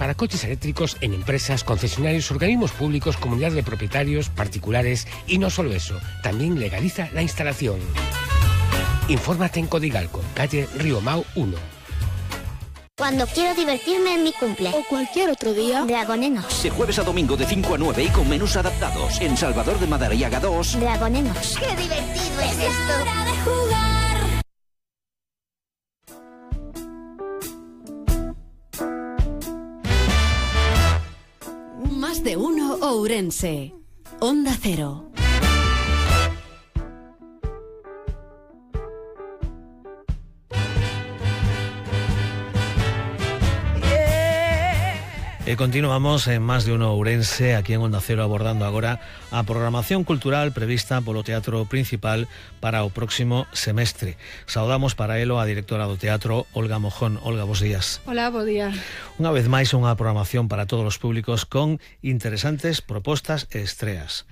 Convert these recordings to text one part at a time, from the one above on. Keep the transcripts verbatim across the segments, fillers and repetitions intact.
para coches eléctricos en empresas, concesionarios, organismos públicos, comunidades de propietarios, particulares y no solo eso, también legaliza la instalación. Infórmate en Codigalco, calle Río Mau uno. Cuando quiero divertirme en mi cumple. O cualquier otro día. Dragonenos. De jueves a domingo de cinco a nueve y con menús adaptados. En Salvador de Madariaga dos. Dragonenos. ¡Qué divertido es esto! ¡Hora de jugar! Más de uno Ourense. Onda Cero. E continuamos en Más de uno Ourense, aquí en Onda Cero, abordando agora a programación cultural prevista polo Teatro Principal para o próximo semestre. Saudamos para elo a directora do teatro, Olga Mojón. Olga, bos días. Hola, bo día. Unha vez máis, unha programación para todos os públicos con interesantes propostas e estreas.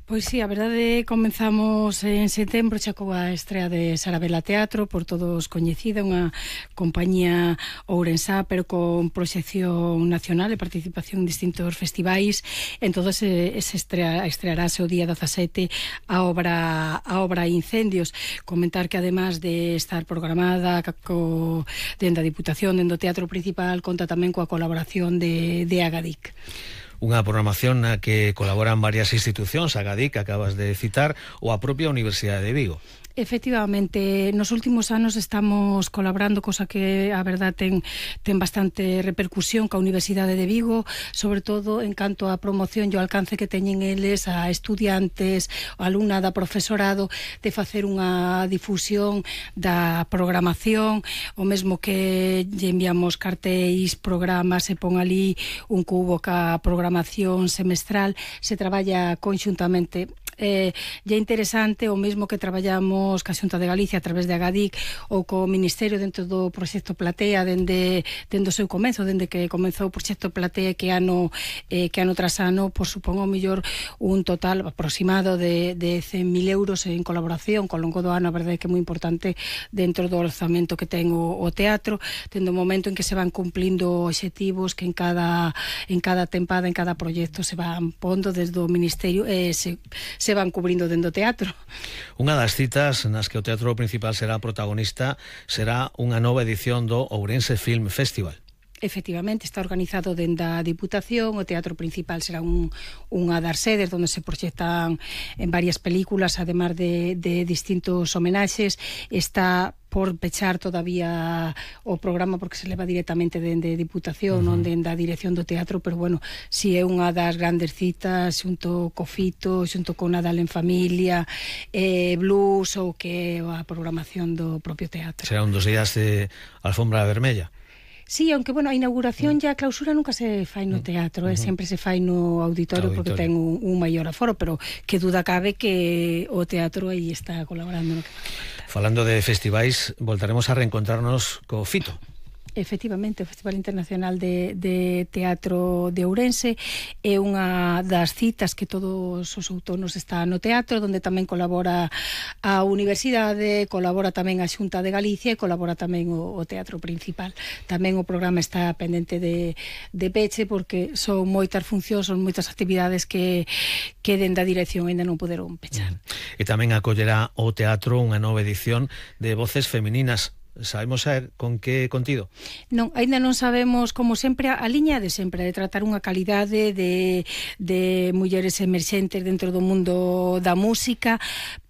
Pois sí, a verdade, comenzamos en setembro xa coa estrea de Sarabela Teatro, por todos coñecida, unha compañía ourensá, pero con proxección nacional e participación en distintos festivais. Entón, se estrea, estrearase o día dezasete a obra a obra Incendios. Comentar que, además de estar programada co, dende a Diputación, dende o Teatro Principal, conta tamén coa colaboración de, de Agadic. Unha programación na que colaboran varias institucións, Agadic, que acabas de citar, ou a propia Universidade de Vigo. Efectivamente, nos últimos anos estamos colaborando, cosa que a verdad ten, ten bastante repercusión ca Universidade de Vigo, sobre todo en canto a promoción e o alcance que teñen eles a estudiantes, a alumnada, profesorado, de facer unha difusión da programación, o mesmo que lle enviamos cartéis, programas, se pon ali un cubo ca programación semestral, se traballa conxuntamente. Eh, é interesante o mesmo que traballamos ca Xunta de Galicia a través de Agadic ou co Ministerio dentro do proxecto Platea dende, dende o seu comenzo, dende que comenzou o proxecto Platea, que ano eh, que ano tras ano, por supón o mellor un total aproximado de, de cen mil euros en colaboración co longo do ano. A verdade é que é moi importante dentro do orzamento que ten o, o teatro, tendo o momento en que se van cumplindo obxectivos que en cada en cada tempada, en cada proxecto se van pondo desde o Ministerio e eh, se, se se van cubrindo dentro do teatro. Unha das citas nas que o Teatro Principal será protagonista será unha nova edición do Ourense Film Festival. Efectivamente, está organizado dende a Diputación. O Teatro Principal será un, unha das sedes onde se proxectan en varias películas, además de, de distintos homenaxes. Está por pechar todavía o programa porque se leva directamente dende Diputación, uh-huh. non dende a dirección do teatro, pero bueno, si é unha das grandes citas xunto co Fito, xunto con Nadal en Familia, eh, Blues ou que a programación do propio teatro. Será un dos días de alfombra vermella. Sí, aunque, bueno, a inauguración mm. e a clausura nunca se fai no teatro, mm. eh, sempre se fai no auditorio, auditorio. Porque ten un, un maior aforo, pero que duda cabe que o teatro aí está colaborando no que Falando de festivais, voltaremos a reencontrarnos co Fito. Efectivamente, o Festival Internacional de, de Teatro de Ourense é unha das citas que todos os outonos está no teatro, onde tamén colabora a Universidade, colabora tamén a Xunta de Galicia e colabora tamén o, o Teatro Principal. Tamén o programa está pendente de, de peche porque son moitas funcións, son moitas actividades que, que dende a dirección ainda non poderon pechar. E tamén acollerá o teatro unha nova edición de Voces Femininas. Sabemos saber con que contido? Non, ainda non sabemos, como sempre, a liña de sempre, de tratar unha calidade de, de mulleres emerxentes dentro do mundo da música,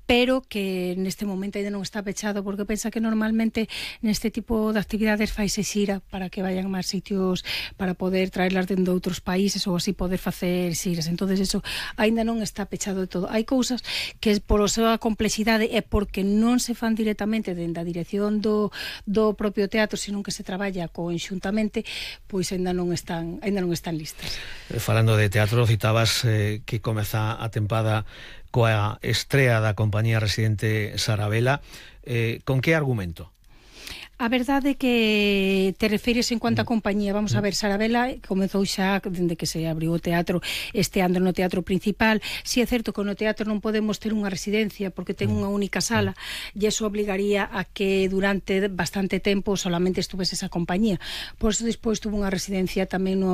pero que neste momento ainda non está pechado, porque pensa que normalmente neste tipo de actividades faise xira para que vayan máis sitios para poder traerlas dentro de outros países ou así poder facer xiras. Entonces eso ainda non está pechado de todo. Hai cousas que por a súa complexidade e porque non se fan directamente dentro da dirección do, do propio teatro, sino que se traballa conxuntamente, pois ainda non están ainda non están listas. Falando de teatro, citabas eh, que comeza a tempada coa estrea da compañía residente Sarabela. Eh, con que argumento? A verdade é que te refires en cuanto a compañía. Vamos a ver, Sarabela comezou xa dende que se abriu o teatro este ano no Teatro Principal. Si é certo que no teatro non podemos ter unha residencia porque ten unha única sala e iso obligaría a que durante bastante tempo solamente estuvese esa compañía. Por iso despois tuvo unha residencia tamén no